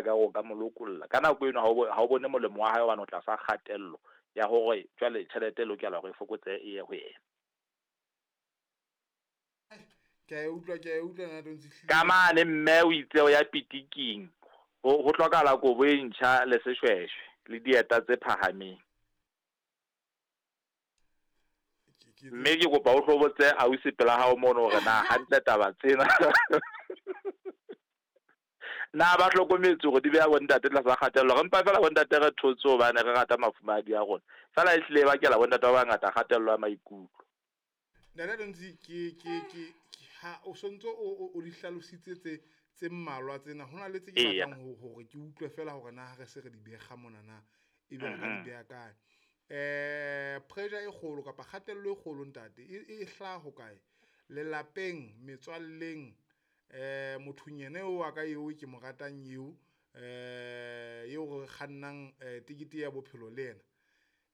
Ka o ka mo lokolla ka nako eno, ha o bone molemo wa hae hobane o tlasa kgatello ya hore jwale tjhelete e lokela hore e fokotsehe e ye ho yena. Ke a e utlwa, ke a e utlwa nna Tontsi hlile. Ka mane mme o itse o ya pitiking, ho hlokahala kobo e ntjha le seshweshwe le dieta tse phahameng. Mme ke kopa o hlo botse ausi pela hao mono hore na hantle taba tsena na ba hlokometse hore di beha bontate tlasa kgatello. Re mpa feela bontate re thotse hobane re rata mafumahadi a rona, feela ehlile e bakela bontate ba bangata kgatello ya maikutlo. Ntate Tontsi, ke ha o sontso o di hlalositse tse mmalwa tsena, ho na le tse ke batlang hore ke utlwe fela hore na ha re se re di bekga mona na ebe re ka di beha kae. Pressure e kgolo kapa kgatello e kgolo ntate e hlaha ho kae? Lelapeng, metswalleng, mothong yena eo wa ka eo ke mo ratang eo, eo re kgannang tekete ya bophelo le yena,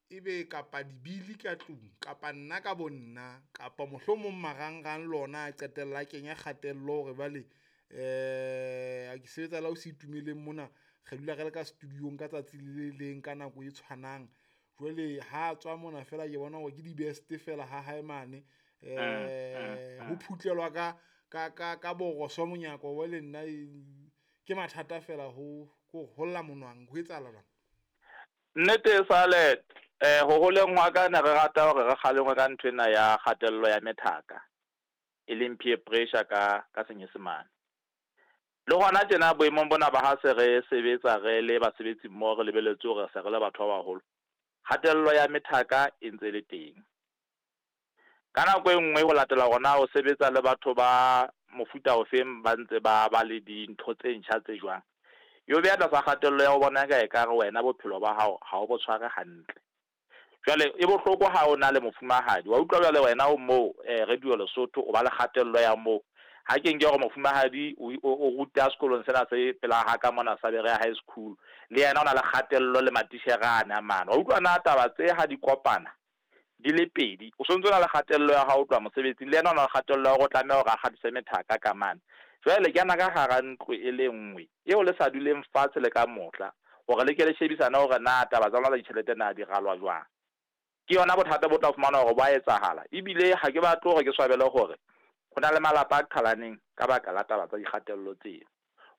ebe kapa dibili ka tlung, kapa nna ka bo nna, kapa mohlomong marangrang lona a qetella a kenya kgatello hore bale ke sebetsa la o se itumeleng mona, re dula re le ka studio-ng ka tsatsi le leng ka nako e tshwanang. Jwale ha tswa mona fela ke bona hore ke di-best fela ha hae mane, ho phutlelwa ka boroso monyako wa le nna ke mathata fela ho holla monwang, ho etsahala jwang? Nnete e sale ho holeng hwa ka ne re rata hore re kgalengwe ka nthwena ya kgatello ya methaka, e leng peer pressure ka Senyesemane. Le hona tjena boemong bona ba ha se re sebetsa re le basebetsi mmoho, re lebelletse hore se re le batho ba baholo, kgatello ya methaka e ntse le teng. Ka nako e nngwe ho latela hore na o sebetsa le batho ba mofuta ofeng, ba ntse ba ba le dintho tse ntjha tse jwang, e o beha tlasa kgatello ya ho bona ka ekare wena bophelo ba hao ha o bo tshware hantle. Jwale e bohloko ha o na le mofumahadi, wa utlwa jwale wena o moo Radio Lesotho o ba le kgatello ya moo. Ha ke nke hore mofumahadi o ruta sekolong sena se pela ha ka mona sa Berea High School, le yena o na le kgatello le matitjhere ane a mane. Wa utlwa na taba tse ha di kopana di le pedi, o sontso o na le kgatello ya hao tloha mosebetsing, le yena o na le kgatello ya hore o tlameha hore a kgatlise methaka ka mane. Jwale le kena ka hara ntlo e le nngwe eo le sa duleng fatshe le ka mohla hore le ke le shebisane hore na taba tsa lona tsa ditjhelete na di ralwa jwang. Ke yona bothata bo tla fumana hore bo a etsahala. Ebile ha ke batle hore ke swabele hore ho na le malapa a qhalaneng ka baka la taba tsa dikgatello tseo.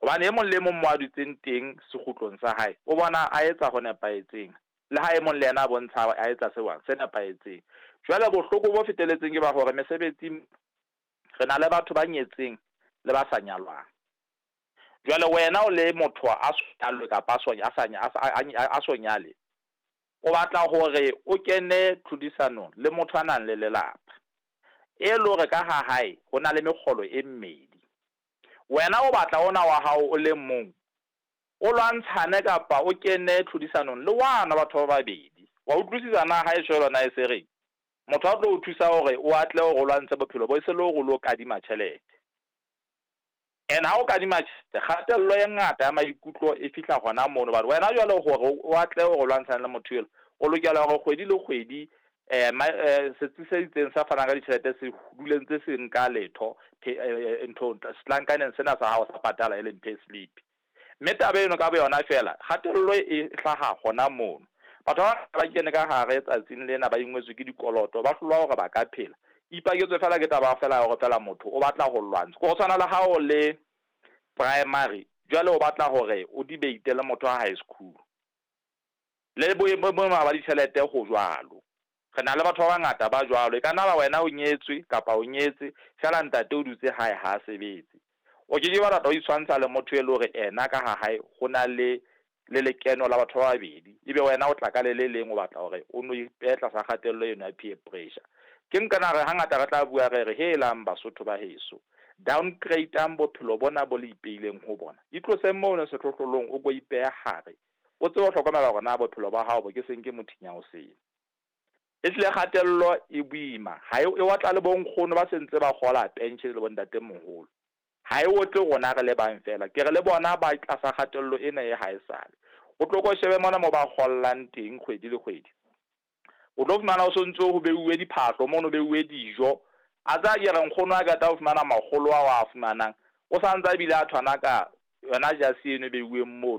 Hobane e mong le mong mo a dutseng teng sekgutlong sa hae, o bona a etsa ho nepahetseng, le ha e mong le yena a bontsha a etsa se se nepahetseng. Jwale bohloko bo feteletseng ke ba hore mesebetsing re na le batho ba nyetseng le ba sa nyalwang. Jwale wena o le motho a so nyalwe kapa a so nyale, o batla hore o kene tlhodisanong le motho a nang le lelapa, e le hore ka ha hae ho na le mekgolo e mmedi. Wena o batla ona wa hao o le mong, o lwantshane kapa o kene tlhodisanong le wana batho ba babedi. Wa utlwisisa na ha e tjho yona e se reng? Motho a tlo o thusa hore o atle hore o lwantshe bophelo bo, e se le hore o lo kadima tjhelete. And ha o kadima tjhelete, kgatello e ngata ya maikutlo e fihla hona mono. Hobane wena jwale hore o atle hore o lwantshane le motho elo, o lokela hore kgwedi le kgwedi setsi se itseng sa fanang ka ditjhelete se dule ntse se nka letho nthong setlankaneng sena sa hao sa patala e leng payslip. Mme taba eno ka boyona feela kgatello e hlaha hona mono. Batho ba ba kene ka hare tsatsing lena ba ingwetswe ke dikoloto, ba hlolwa hore ba ka phela. Ipaketswe feela ke taba feela ya hore feela motho o batla ho lwantsha. Ho tshwana le ha o le primary, jwale o batla hore o debate le motho wa high school. Le boemo ba ditjhelete ho jwalo. Re na le batho ba bangata ba jwalo. E ka nna ba wena o nyetswe kapa o nyetse, feela ntate o dutse hae ha a sebetse. O ke ke wa rata ho itshwantsha le motho e le hore ena ka ha hae ho na le lekeno la batho ba babedi, ebe wena o tla ka le le leng o batla hore o no ipehe tlasa kgatello eno ya peer pressure. Ke nka re hangata re tla bua re re helang Basotho ba heso, downgrade-ang bophelo bona bo le ipeileng ho bona. Itloseng mono sehlohlolong o ko ipehe hare, o tsebe ho hlokomela hore na bophelo ba hao bo ke seng ke mothinya o sele. Ehlile kgatello e boima, ha e otla le bonkgono ba sentse ba kgola pension le bontatemoholo. Ha e otle rona re le bang feela, ke re le bona ba tlasa kgatello ena e haesale. O tlo ko shebe mona mo ba kgollang teng kgwedi le kgwedi, o tlo fumana o sontso ho beuwe diphahlo mono, beuwe dijo. A tsa ke re nkgono a qeta ho fumana makgolo ao a fumanang, o santse a bile a thwana ka Yona jase eno e beuweng mono.